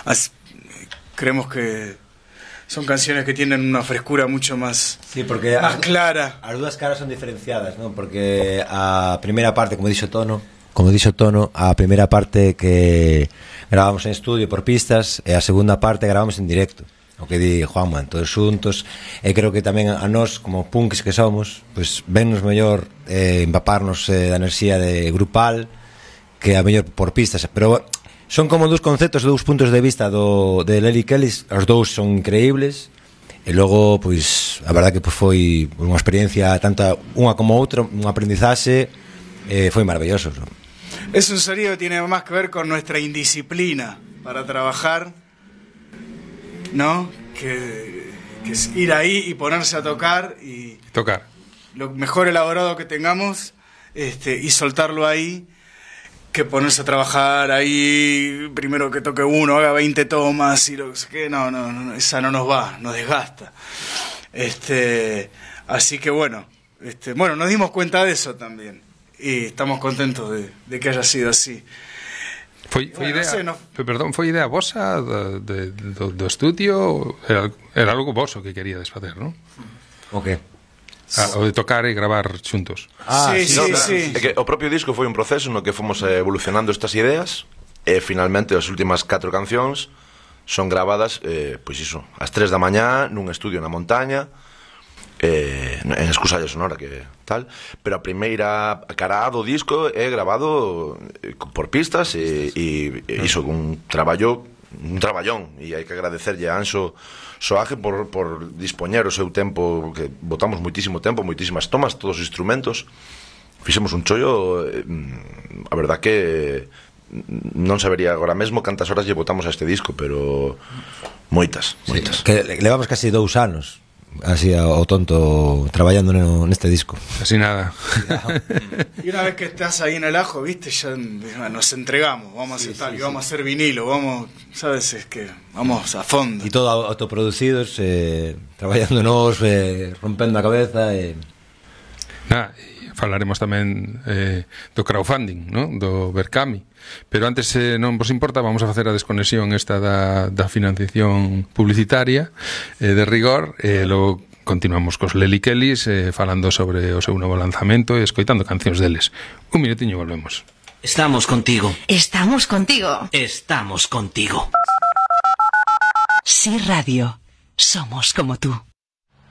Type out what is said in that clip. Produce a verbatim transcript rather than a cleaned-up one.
As, creemos que son canciones que tienen una frescura mucho más, sí, porque más as, clara. As dúas caras son diferenciadas, ¿no? Porque a primeira parte, como dixo Tono, como dixo Tono, a primeira parte que gravamos en estudio por pistas e a segunda parte gravamos en directo. O que di Juanma, todos xuntos, e creo que tamén a nós, como punks que somos, pues vennos mellor eh, empaparnos eh, da enerxía de grupal que a mellor por pistas, pero son como dous conceptos, dous puntos de vista do, de Lely Kellys, os dous son increíbles, e logo, pois, a verdad que pues, foi unha experiencia tanto unha como outra, un aprendizaxe, eh, foi maravilloso, ¿no? Es un sonido que tiene más que ver con nuestra indisciplina para trabajar, ¿no? Que, que es ir ahí y ponerse a tocar y tocar lo mejor elaborado que tengamos, este, y soltarlo ahí, que ponerse a trabajar ahí, primero que toque uno, haga veinte tomas y lo que sé qué, no, no, no, esa no nos va, nos desgasta. Este, así que bueno, este, bueno, nos dimos cuenta de eso también y estamos contentos de, de que haya sido así. Foi, foi bueno, idea, no sé, no... perdón, foi idea vosa do, de, do, do estudio, era, era algo voso que queríades facer, non? O que? Ah, o de tocar e gravar xuntos. Ah, sí, sí, no, sí, sí. É que o propio disco foi un proceso no que fomos evolucionando estas ideas e finalmente as últimas catro cancións son gravadas, eh, pois iso, ás tres da mañá nun estudio na montaña, eh, en Escusalla Sonora, que tal, pero a primeira cara do disco é grabado por pistas e, e, e iso, un traballo un traballón, e hai que agradecerlle a Anxo Soaje por, por dispoñer o seu tempo, que botamos moitísimo tempo, moitísimas tomas, todos os instrumentos, fixemos un chollo, eh, a verdad que non sabería agora mesmo cantas horas lle botamos a este disco, pero moitas, moitas. Sí, que levamos casi dous anos así ao tonto traballando no, neste disco. Así nada. Y una vez que estás ahí en el ajo, viste, ya nos entregamos, vamos sí, a hacer tal, sí, y vamos sí. a hacer vinilo, vamos, sabes, es que vamos a fondo. Y todo autoproducidos, eh, traballándonos, eh, rompendo a cabeza e... Nah, falaremos tamén eh, do crowdfunding, ¿no? Do Berkami, pero antes, eh, non vos importa, vamos a facer a desconexión esta da, da financiación publicitaria eh, de rigor, e eh, logo continuamos cos Lely Kellys eh, falando sobre o seu novo lanzamento e escoitando cancións deles. Un minutiño, volvemos. Estamos contigo. Estamos contigo. Estamos contigo. Sí Radio. Somos como tú.